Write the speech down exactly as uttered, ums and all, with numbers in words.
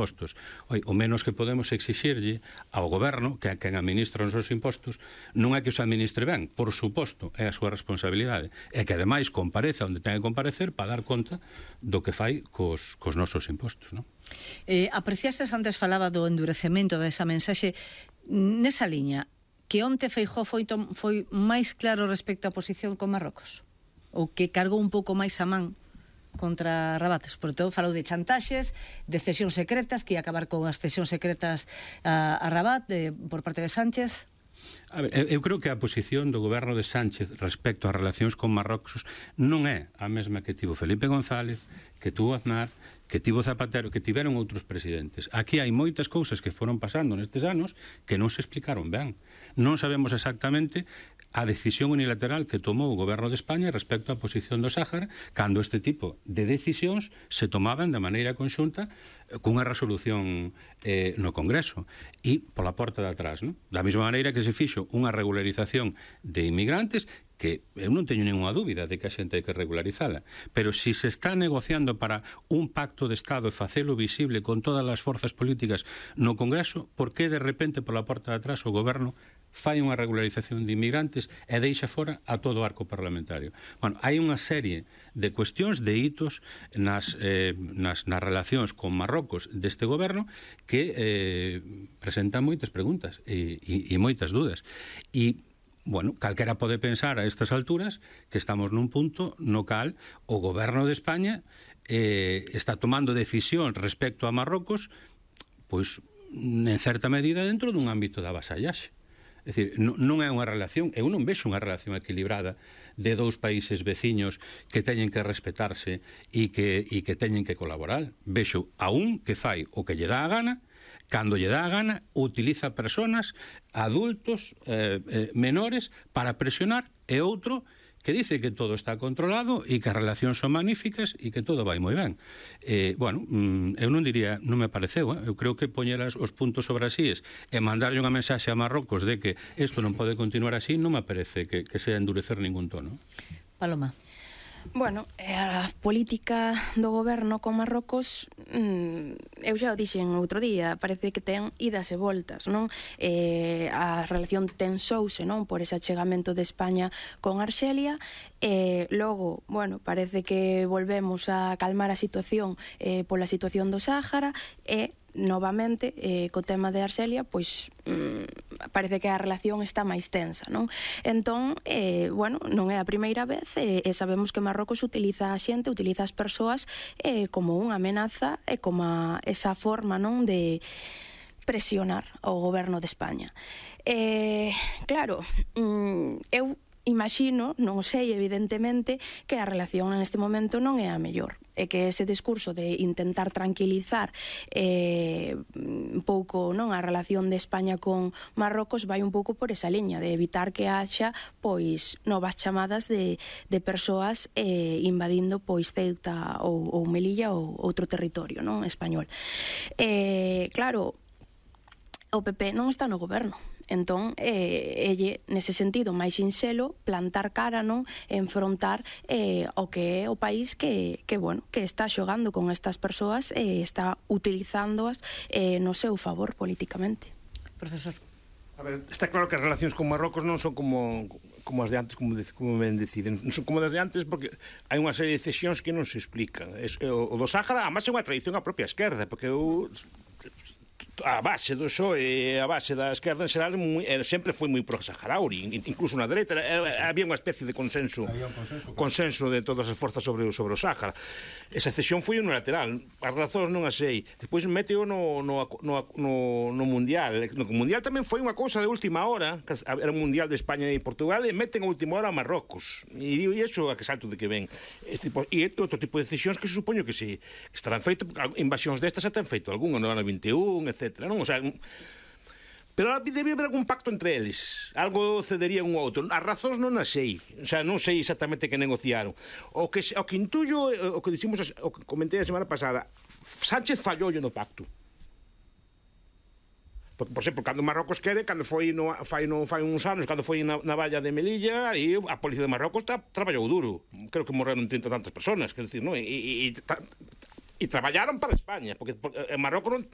impostos. Oi, o menos que podemos exixirlle ao goberno, que é quen administra os seus impostos, non é que os administre ben, por suposto, é a súa responsabilidade, é que ademais compareza onde ten que comparecer para dar conta do que fai cos, cos nosos impostos, non? Eh, apreciastes antes falaba do endurecemento desa mensaxe nesa liña, que onte Feijóo foi, foi máis claro respecto á posición con Marrocos, ou que cargou un pouco máis a man contra Rabat, por todo falou de chantaxes, de cesións secretas, que ia acabar con as cesións secretas a, a Rabat de, por parte de Sánchez. A ver, eu creo que a posición do goberno de Sánchez respecto ás relacións con Marrocos non é a mesma que tivo Felipe González, que tuvo Aznar, que tivo Zapatero, que tiveron outros presidentes. Aquí hai moitas cousas que foron pasando nestes anos que non se explicaron ben. Non sabemos exactamente a decisión unilateral que tomou o goberno de España respecto á posición do Sáhara, cando este tipo de decisións se tomaban de maneira conxunta cunha resolución eh, no Congreso e pola porta de atrás, non? Da mesma maneira que se fixo unha regularización de inmigrantes, que eu non teño ninguna dúbida de que a xente hai que regularizala, pero si se está negociando para un pacto de Estado e facelo visible con todas as forzas políticas no Congreso, por que de repente pola porta de atrás o goberno fai unha regularización de inmigrantes e deixa fora a todo o arco parlamentario? Bueno, hai unha serie de cuestións, de hitos nas, eh, nas, nas relacións con Marrocos deste goberno que eh, presentan moitas preguntas e, e, e moitas dudas. E bueno, calquera pode pensar a estas alturas que estamos nun punto no cal o goberno de España eh, está tomando decisión respecto a Marrocos, pois, en certa medida dentro dun ámbito da vasallaxe. É dicir, non é unha relación, eu non vexo unha relación equilibrada de dous países veciños que teñen que respetarse e que, e que teñen que colaborar. Vexo a un que fai o que lle dá a gana, cando lle dá a gana, utiliza personas, adultos, eh, eh, menores, para presionar, e outro que dice que todo está controlado e que as relacións son magníficas e que todo vai moi ben. Eh, bueno, eu non diría, non me pareceu, eh? Eu creo que poñer os puntos sobre as íes e mandarlle unha mensaxe a Marrocos de que isto non pode continuar así, non me parece que, que sea endurecer ningún tono. Paloma. Bueno, a política do goberno con Marrocos, mmm, eu xa o dixen outro día, parece que ten idas e voltas, non? Eh, a relación tensouse, non? Por ese achegamento de España con Arxelia, e logo, bueno, parece que volvemos a calmar a situación eh, pola situación do Sáhara, e novamente, eh, co tema de Arxelia, pois mm, parece que a relación está máis tensa, non? Entón, eh, bueno, non é a primeira vez, e eh, sabemos que Marrocos utiliza a xente, utiliza as persoas eh, como unha amenaza e como a, esa forma, non, de presionar ao goberno de España. Eh, claro, mm, eu imagino, non sei evidentemente, que a relación neste momento non é a mellor, e que ese discurso de intentar tranquilizar eh, un pouco, non, a relación de España con Marrocos vai un pouco por esa liña de evitar que haxa pois novas chamadas de, de persoas eh, invadindo pois Ceuta ou, ou Melilla ou outro territorio, non, español. Eh, claro, o P P non está no goberno. Entón, eh, elle, nese sentido, máis sinxelo, plantar cara, non, enfrontar eh, o que é o país que, que, bueno, que está xogando con estas persoas e eh, está utilizándoas eh, no seu favor políticamente. Profesor. A ver, está claro que as relacións con Marrocos non son como, como as de antes, como, de, como ben deciden. Non son como as de antes porque hai unha serie de cesións que non se explican. Es, o, o do Sáhara, además, é unha tradición a propia esquerda, porque o... a base do P S O E, a base da esquerda en xeral moi, sempre foi moi pro-saharaui, incluso na dereita había unha especie de consenso consenso, consenso de todas as forzas sobre, sobre o Sáhara. Esa cesión foi unilateral, as razóns non as sei. Despois meteo no, no, no, no, no Mundial. No Mundial tamén foi unha cousa de última hora, que era o Mundial de España e Portugal, e meten a última hora a Marrocos, e digo, e iso a que salto de que ven. Este, e outro tipo de decisións que se supoño que se que estarán feito, invasións destas xa ten feito algún, no ano vinte e un, etcétera, non? O sea, pero debía haber algún pacto entre eles, algo cedería un outro. As razóns non as sei, o sea, non sei exactamente que negociaron. O que, o que intuyo, o que dicimos, o que comentei a semana pasada, Sánchez fallou no pacto. Por, por exemplo, cando Marrocos quere, cando foi no, fai, no, fai uns anos, cando foi na, na valla de Melilla, e a policía de Marrocos ta, traballou duro. Creo que morreron trinta tantas personas, quer decir, non? E, e, e ta, E traballaron para España, porque, porque Marrocos non,